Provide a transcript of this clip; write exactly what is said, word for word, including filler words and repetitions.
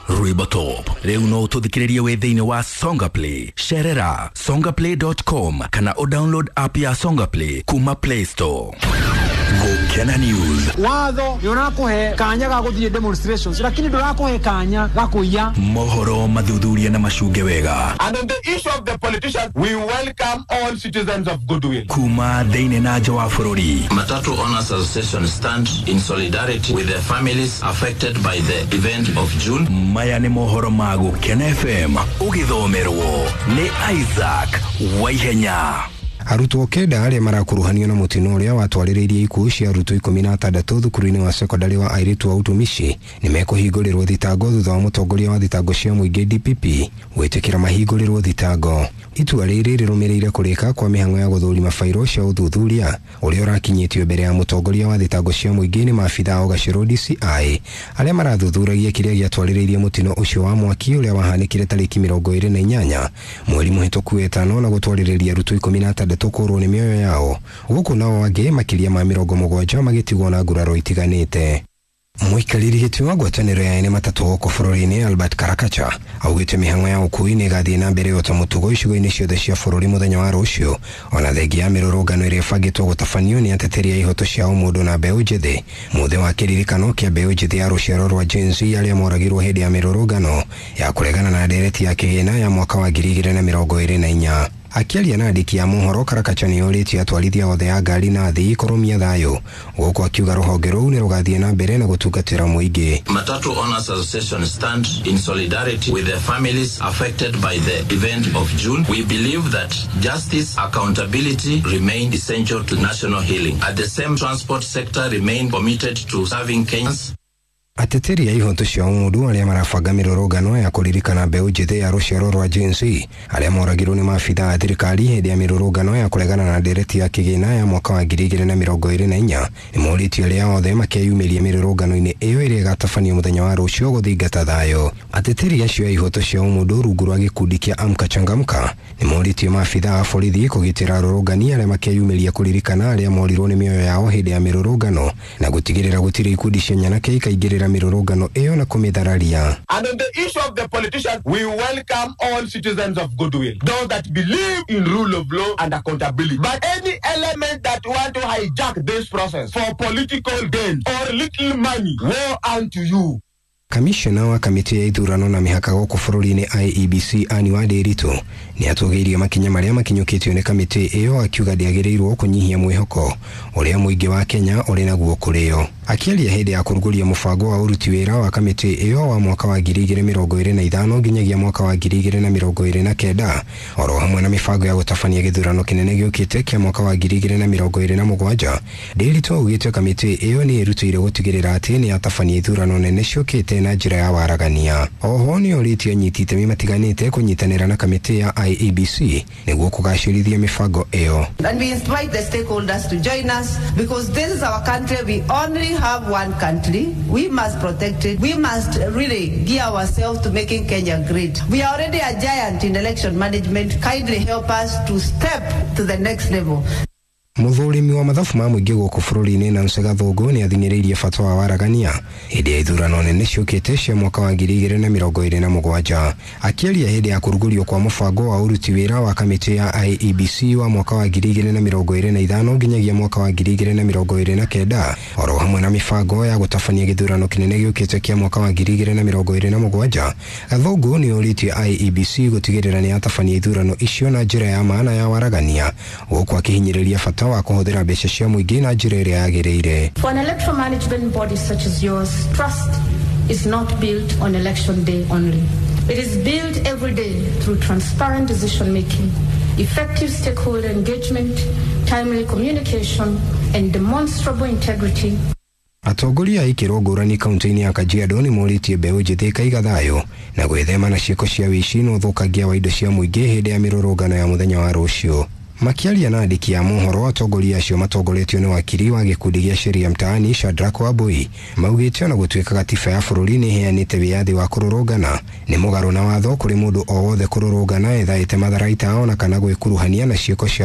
Rwĩmbo Top. Rĩu no ũtũthikĩrĩrie wĩ thĩinĩ wa Songa Play. Cerera songaplay dot com kana ũdownload app ya Songa Play kuma Play Store. Gũkena News. Watho nĩ ũrakũhe kanya ga gũthiĩ demonstrations, lakini ndũrakũhe kanya ga kũiya. Mohoro mathuthuria na macunge wega. And on the issue of the politicians, we welcome all citizens of goodwill. Kuma thĩinĩ na nja wa bũrũri. Matatu Owners Association stand in solidarity with the families affected by the event of June. Maya nĩ mohoro ma Gũkena F M, ũgĩthomerwo nĩ Isaac Waihenya. Arutwo kenda arĩa marakuruhanio na mũtino ũrĩa watwarĩrĩirie ikuũ cia arutwo ikũmi na atandatũ thukuru-inĩ wa sekondarĩ wa airĩtu wa Utumishi nĩ mekũhingũrĩrwo thitango thutha wa mũtongoria wa thitango cia mũingĩ D P P gwĩtĩkĩra mahingũrĩrwo thitango. Itua rĩrĩ rĩrũmĩrĩire kũrĩka kwa mĩhang'o ya gũthũrima bairo cia ũthuthuria ũrĩa ũrakinyĩtio mbere ya mũtongoria wa thitango cia mũingĩ nĩ maabitha a Ũgacĩrũ D C I arĩa marathuthuragia kĩrĩa gĩatwarĩrĩirie mũtino ũcio wa mwaki ũrĩa wahanĩkire tarĩki mĩrongo ĩrĩ na inyanya mweri mũhĩtũku wetano na gũtwarĩrĩria arutwo ikũmi na atandatũ kũrwo nĩ mĩoyo yao, gũkũ nao angĩ makĩria ma mĩrongo mũgwanja magĩtigwo na nguraro itiganĩte. Mũikarĩri gĩtĩ wa ngwatanĩro ya ene matatũ gũkũ bũrũri-inĩ Albert Karakacha augĩte mĩhang'o ya ũkui nĩ ĩgathiĩ na mbere ota mũtugo icigo-inĩ ciothe cia bũrũri mũthenya wa rũciũ, ona thengia ya mĩrũrũngano ĩrĩa ĩbangĩtwo gũtabanio nĩ ateteri a ihoto cia ũmũndũ na mbeũ njĩthĩ mũthĩ wa kĩririkano kĩa mbeũ njĩthĩ ya rũciaro rwa Gen Z arĩa moragirwo hĩndĩ ya mĩrũrũngano ya kũregana na ndereti ya kĩgĩna ya mwaka wa ngiri igĩrĩ na mĩrongo ĩrĩ na inya. Akĩaria na andĩki a mohoro, Karakacha nĩ orĩtie atwarithia othe a ngari na athii kũrũmia thayũ, gũkũ akiuga rũhonge rũu nĩ rũgathiĩ na mbere na gũtungatĩra mũingĩ. Matatu Owners Association stand in solidarity with the families affected by the event of June. We believe that justice, accountability remain essential to national healing. At the same, transport sector remain committed to serving Kenyans. Ateteri a ihoto cia ũmũndũ arĩa marabanga mĩrũrũngano ya kũririkana mbeũ njĩthĩ ya rũciaro rwa Gen Z arĩa moragirwo nĩ maabitha a thirikari hĩndĩ ya mĩrũrũngano ya kũregana na ndereti ya kĩgĩna ya mwaka wa ngiri igĩrĩ na mĩrongo ĩrĩ na inya nĩ morĩtie arĩa othe makeyumĩria mĩrũrũngano-inĩ ĩyo ĩrĩa ĩgatabanio mũthenya wa rũciũ gũthingata thayũ. Ateteri acio a ihoto cia ũmũndũ rungu rwa gĩkundi kĩa Amka Changamka nĩ morĩtie maabitha a borithi kũgitĩra arũrũngani arĩa makeyumĩria kũririkana arĩa morirwo nĩ mĩoyo yao hĩndĩ ya mĩrũrũngano na gũtigĩrĩra gũtirĩ ikundi cia nyanake ikaingĩrĩra mĩrũrũngano ĩyo na kũmĩthararia. And on the issue of the politicians, we welcome all citizens of goodwill, those that believe in rule of law and accountability. But any element that want to hijack this process for political gain or little money, woe unto you. Kamishna wa kamĩtĩ ya ithurano na mĩhaka gũkũ bũrũri-inĩ I E B C Anne Wandĩritũ nĩ atũgĩirie makinya marĩa makinyũkĩtio nĩ kamĩtĩ ĩyo, akiuga ndĩagĩrĩirwo kũnyihia mwĩhoko ũrĩa mũingĩ wa Kenya ũrĩ naguo kũrĩ yo. Akĩaria hĩndĩ ya kũrugũria mũbango wa ũruti wĩra wa kamĩtĩ ĩyo wa mwaka wa ngiri igĩrĩ mĩrongo ĩrĩ na ithano nginyagia mwaka wa ngiri igĩrĩ na mĩrongo ĩrĩ na kenda, oro hamwe na mĩbango ya gũtabania gĩthurano kĩnene gĩũkĩte kĩa mwaka wa ngiri igĩrĩ na mĩrongo ĩrĩ na mũgwanja, Ndĩritũ augĩte kamĩtĩ ĩyo nĩ ĩrutĩire gũtigĩrĩra atĩ nĩ yatabania ithurano nene ciũkĩte na njĩra ya waragania. Oho nĩ orĩtie anyiti itemi matiganĩte kũnyitanĩra na kamĩtĩ ya I E B C nĩguo kũgacĩrithia mĩbango ĩyo. And we invite the stakeholders to join us because this is our country. We only have one country. We must protect it. We must really gear ourselves to making Kenya great. We are already a giant in election management. Kindly help us to step to the next level. Mũthũrimi wa mathabu ma mũingĩ gũkũ bũrũri-inĩ Nancy Gathũngũ nĩ athing'ĩrĩirie bata wa waragania hĩndĩ ya ithurano nene ciũkĩte cia mwaka wa ngiri igĩrĩ na mĩrongo ĩrĩ na mũgwanja. Akĩaria hĩndĩ ya kũrugũrio kwa mũbango wa ũruti wĩra wa kamĩtĩ ya I E B C wa mwaka wa ngiri igĩrĩ na mĩrongo ĩrĩ na ithano nginyagia mwaka wa ngiri igĩrĩ na mĩrongo ĩrĩ na kenda, oro hamwe na mĩbango ya gũtabania gĩthurano kĩnene gĩũkĩte kĩa mwaka wa ngiri igĩrĩ na mĩrongo ĩrĩ na mũgwanja, Gathũngũ nĩ orĩtie I E B C gũtigĩrĩra nĩ yatabania ithurano icio na njĩra ya maana ya waragania, gũkũ akĩhinyĩrĩria bata wa kũhũthĩra mbeca cia mũingĩ na njĩra ĩrĩa yagĩrĩire. For an electoral management body such as yours, trust is not built on election day only. It is built every day through transparent decision making, effective stakeholder engagement, timely communication, and demonstrable integrity. Atongoria a ikĩro ngũrani kaunti-inĩ ya Kajiado nĩ morĩtie mbeũ njĩthĩ kaiga thayũ na gwĩthema na ciĩko cia wĩici na ũthũkangia wa indo cia mũingĩ hĩndĩ ya mĩrũrũngano ya mũthenya wa rũciũ. Makĩaria na andĩki a mohoro, atongoria acio matongoretio nĩ wakiri wa gĩkundi gĩa Sheria Mtaani Shadrack Wambui maugĩte ona gũtuĩka gatiba ya bũrũri nĩ ĩheanĩte wĩyathi wa kũrũrũngana, nĩ mũgarũ na watho kũrĩ mũndũ o wothe kũrũrũngana ethaĩte matharaita ona kana gwĩkuruhania na ciĩko cia